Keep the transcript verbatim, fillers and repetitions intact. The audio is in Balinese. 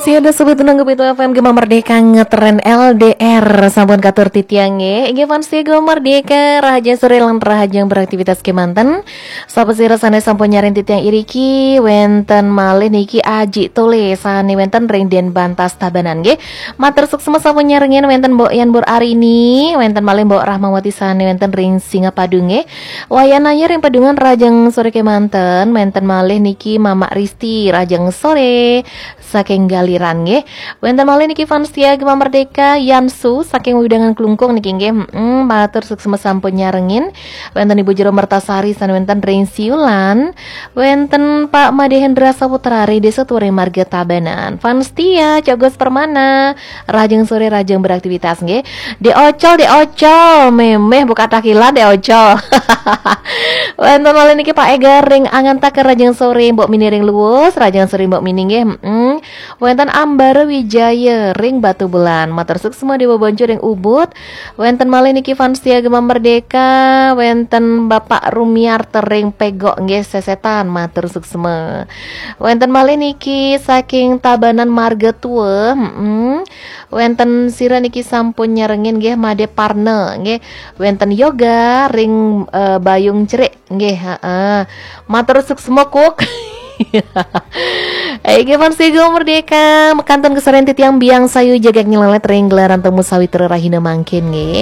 Siada sebut nunggu itu F M Gema Merdeka ngetren L D R sampun katur titiang nggih. Inggih fans Gema Merdeka, rahajeng sore lan rahajeng beraktivitas kemanten. Sapa sira sane sampun nyaring titiang iriki, wenten malih niki Aji Tole sane wenten ring Denbantas Tabanan nggih. Matur suksma sampun nyarengin, wenten Mbok Yan Bur Arini, wenten malih Mbok Rahmawati sane wenten ring Singapadu nggih. Wayan Ayu ring Padungan rahajeng sore kemanten, wenten malih niki Mamak Risti rahajeng sore saking Galiran nggih. Wenten malih niki fans setia Gema Merdeka Yansu saking Wewidangan Klungkung niki nggih. Mm, matur suksma sampun nyarengin. Wenten Ibu Jero Mertasari sane wenten ring Siulan. Wenten Pak Made Hendra Saputra ring Desa Turing Marga Tabanan. Fans setia Cogos Permana. Rahajeng sore, rahajeng beraktivitas nggih. De Ocol, de Ocol, memeh buka takilan de Ocol. Wenten malih niki Pak Ega ring Angantaka, rahajeng sore, Mbok Mini ring Luwus, rahajeng sore Mbok Mini nggih. Mm. Wenten Ambara Wijaya ring Batubulan. Matur suksma Dewa Boncu ring Ubud. Wenten malih niki fans setia Gema Merdeka, wenten Bapak Rumiarta ring Pegok nggih Sesetan. Matur suksma. Wenten malih niki saking Tabanan Marga Tua. Mm. Wenten sira niki sampun nyarengin nggih Made Parna nggih. Wenten Yoga ring eh, Bayung Cerik nggih, heeh. Matur suksma Kuk. Inggih fans Gema Merdeka, mekantun kesaren titiang Biang Sayu jagak nyelelet ring gelaran temu sawitra rahina mangkin nggih.